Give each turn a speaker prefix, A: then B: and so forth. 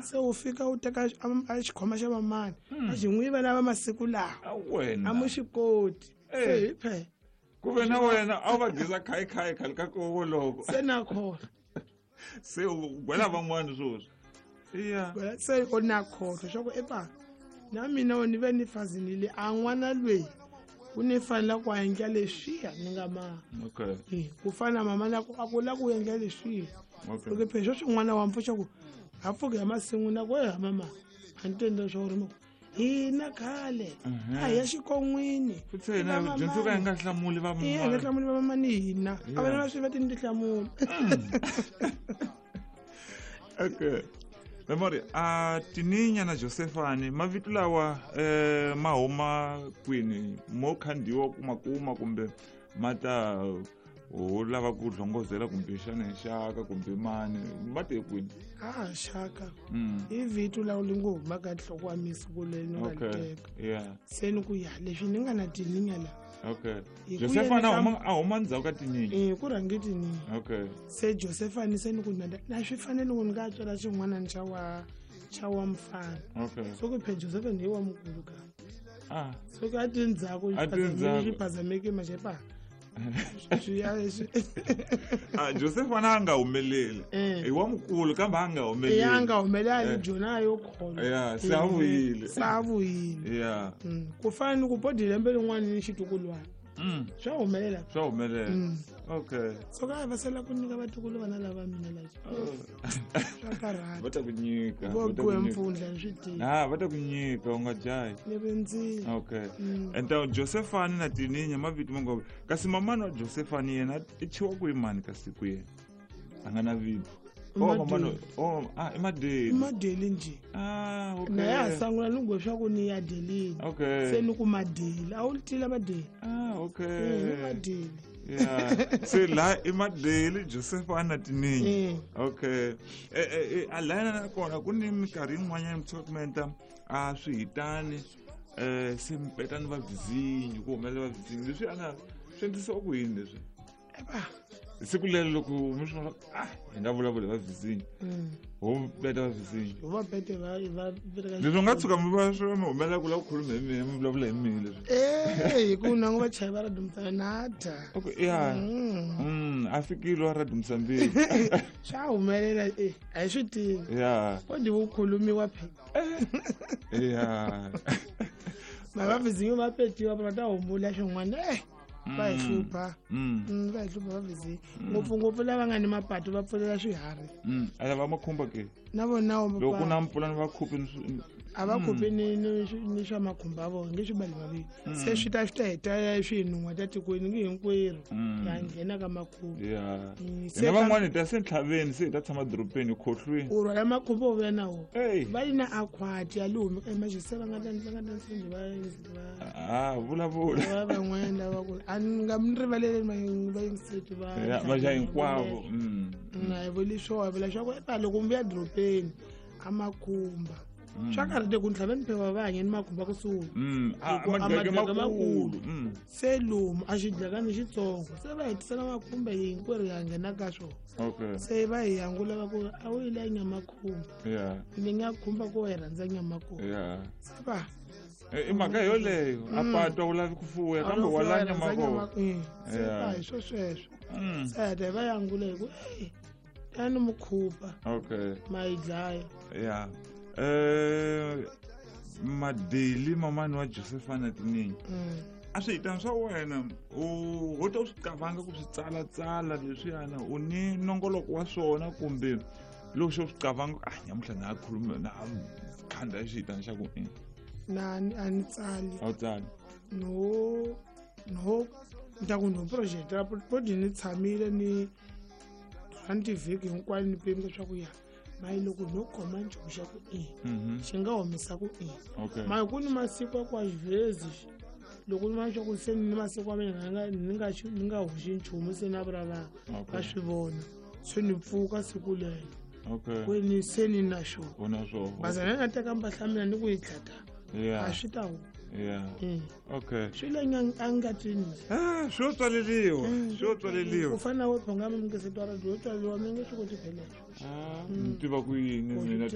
A: Se u fika u teka a xikhoma xa mamani a xi n'wi yiva lava masiku lawa
B: wena
A: a mu xi koti. Se hi phe
B: ku ve na wena a wu va geza khayikhayi khale ka kovo loko
A: se na khona
B: se u gwela van'wani swoswi iya
A: se u na khohlo swa ku epa na mina ni ve ni fazinile a n'wana lweyi u ni fanela ku endla leswiya ni nga ma
B: okay
A: ku fana mama na ku a ku la ku endla leswiya okay loko phela sweswi n'wana wa mpfuxa ku a pfuki hi masin'wini a ku eha mama a ni tendla swa uri hina khale a hi ya xikon'wini
B: futhi hina dyondzo ka hi nga hlamuli va
A: hi nga hlamuli va mamani hina a vana va swi va ti ni tihlamula.
B: Okay, Memory, a Tininya na Josephani mavito lawa ma huma kwini? Mo khandiwa kuma kuma kumbe ma ta ho lava ku hlongozela kumbe xana xaka kumbe mani ma te kwini?
A: A xaka i vito lawa li ngo huma ka nhloko wa misi ku leri ni nga li teka se ni ku ya leswi ni nga na Tininya la.
B: Okay, Josephani a huma ndzhaku ka Tininya.
A: Eh, ku rhange Tininya.
B: Okay,
A: se Josephani se ni ku na swi fanele ku ni nga tswala xin'wana xa wa mfana.
B: Okay,
A: so ku phe Josephani hi wa mukulu ka so ka tindzhaku swi phazameke maxepa.
B: Josephani a nga humeleli i wa mukulu kambe a nga humeleli.
A: A nga humeleli jona yo khoma
B: ya se a vuyile.
A: Se a vuyile
B: ya
A: ku fana ni ku bodi lembe rin'wana ni xitukulwana swa humelela.
B: Swa humelela. Okay,
A: so ka va sala ku nyika vatukulu vana lava mina la swa karhata.
B: Va ta ku nyika
A: vo gwe mpfundla ni swi tivi.
B: Ah, va ta ku nyika u nga jahi
A: ni rindzile.
B: Okay, enta Josephani na Tininya mavito mangobe kasi mamani wa Josephani yena i thyiwa ku imani kasi ku yena a nga na vito? Oh, mamani, oh, ah, i Madeli.
A: I Madeli nje.
B: Ah, okay.
A: Na ya sangula ni ngwe swa ku ni ya delini.
B: Okay,
A: se ni ku Madeli a wu tila Madeli.
B: Ah, okay,
A: ni Madeli.
B: Yeah, se la i Madeli, Josephani na Tininya. Okay, a la na kona ku ni minkarhi yin'wanyana mi tshuka kumenta a swi hitani se mi petani va vizinyo ku humelela va vizinyo leswi ana swi endlisiwa ku yini leswi siku lero loko mi swi vona ah hi nga vulavula va vizinyo ho peta va vizinyo
A: va pete va va
B: leswi nga tshuka mi va swi mi humelela ku lava ku khuluma hi mina mi vulavula hi mina leswi
A: eh hi ku nangu va chayi va ra dumisa nata.
B: Okay, ya a fikile wa ra dumisa mbili.
A: Swa humelela eh a hi swi tivi.
B: Ya
A: ko ndi ku khulumiwa phe.
B: Ya
A: mavavizinyo va petiwa va ta humula swin'wana va hi hlupha va hi hlupha vavizinyo ngopfungopfu lava nga ni mapatu va pfulela swiharhi.
B: A va makhumba ke
A: na vona.
B: Loko ku na mpfula ni va khupi.
A: A va khupi ni swa makhumba ya vona nge swi bali mavili se swi ta heta swi nun'wa ta tikweni nge hinkwerhu ya nghena ka makhumba.
B: Ya, hina van'wani hi ta se ntlhaveni se hi ta tshama dorobeni hi khohlweni.
A: U rhwala makhumba u vuya na wona va yi na akhwati ya li humi emaxi se va nga ta va nga ta
B: a vulavula
A: va van'wana lava ku a ni nga mi rivaleli vayingiseti va
B: va hinkwavo.
A: Na hi vuli swona hi vula swa ku epa loko mi vuya dorobeni a makhumba swa karhi te ku ntlhaveni phepha va hanye ni makhumba kusuhi
B: madleke makulu
A: se lomu a xidlakani xitsongo se va hetisela makhumba hinkwerhu ya nghena ka swona.
B: Okay,
A: se va hi yangula va ku a wu yile nyama khumba ni nga khumba ku hi rhandza nyama khumba se va
B: i mhaka yoleyo a patwa wu lavi ku fuya kambe wa la nyama
A: kona se va hi swo sweswo se heta va yangula hi ku e tani mukhupa.
B: Okay,
A: ma yi dlaya.
B: Ya, Madeli mamani wa Josephana Tininyi a swi hitani swa wena u ho ta u swi qavanga ku swi tsalatsala leswiyana u ni nongoloko wa swona kumbe loko xo swi qavanga ah nyamuhla na khuluma na khanda xihitani xa ku i
A: Na a ni tsali.
B: A wu tsali.
A: No, ni ta ku no project podi ni tshamile ni rhanti vhiki hinkwayo ni pimisa swa ku ya mayi loko no khoma nchumu xa ku i xi nga humesa ku i mayi ku ni masiku ya ku a xivhezi loko ni va swa ku se ni masiku ya mina ni nga hoxi nchumu se na vula va va swi vona se ni pfuka siku lelo ku ni se ni na xona bazana nga teka mpahla mina ni ku yi tlata a swi ta huma.
B: Okay,
A: swi le angatini.
B: Swi yo tswaleliwa, swi yo tswaleliwa.
A: Ku fana na we phonga mi nge se twa radio yo tswaleliwa mi nge swi koti pheleswo.
B: Ni tiva ku yini mina.